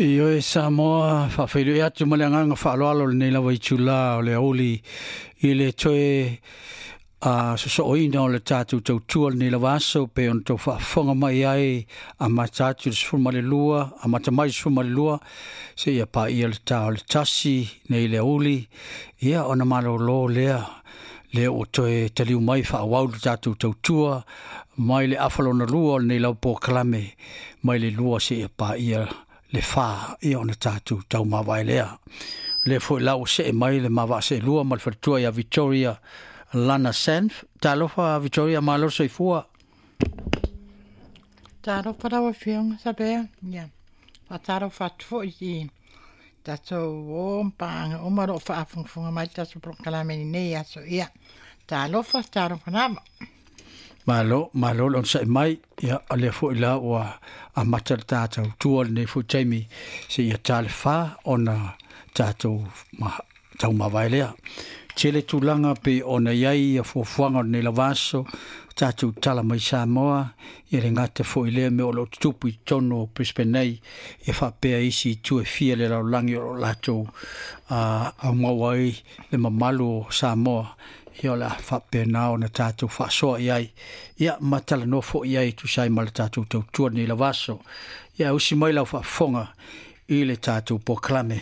Ioe Samoa, faafeiloai atu ma le agaga faaaloalo lenei lava itulā o le aoauli i le toe sosooina o le tatou tautua lenei lava aso pei ona tou faafofoga mai ai, amata atu i le 12, amata mai le 12 seia paia le ta o le 1 nei le aoauli, ia ona malōlō lea lea ua toe taliu mai faaauau le tatou tautua mai le afa lona lua o lenei lava polokalame mai le 2 seia paia le 4, ia ona tatou taumavae lea. O lea foi la ua see mai le ma vaaseelua ma le faletua ia Victoria Lana Sanf. Talofa Victoria, malo le soifua. Talofa lau Afioga Sabea. Ia, faatalofa atu foi i tatou o ma paaga uma o lo o faafogafoga mai le tatou polokalame i lenei aso. Ia, talofa, talofa lava. Malo, malo le onosai mai. Ia, o lea foi la ua amata le tatou tua lenei foi taimi seia ta le 4 ona tatou taumavae lea. Tele tulaga pei ona i ai ia fuafuaga o lenei lava aso, tatou tala mai Samoa, ia le gata foi lea mea o lo o tutupu i totonu o Brisbane nei, ia faapea isi itu e fia le lalolagi o lo o latou aumau ai le mamalu o Samoa, ia o le a faapena ona tatou faasoa i ai, ia ma talanoa foi i ai e tusa ai ma le tatou tautua lenei lava aso. Ia usi mai lau faafofoga i le tatou polokalame.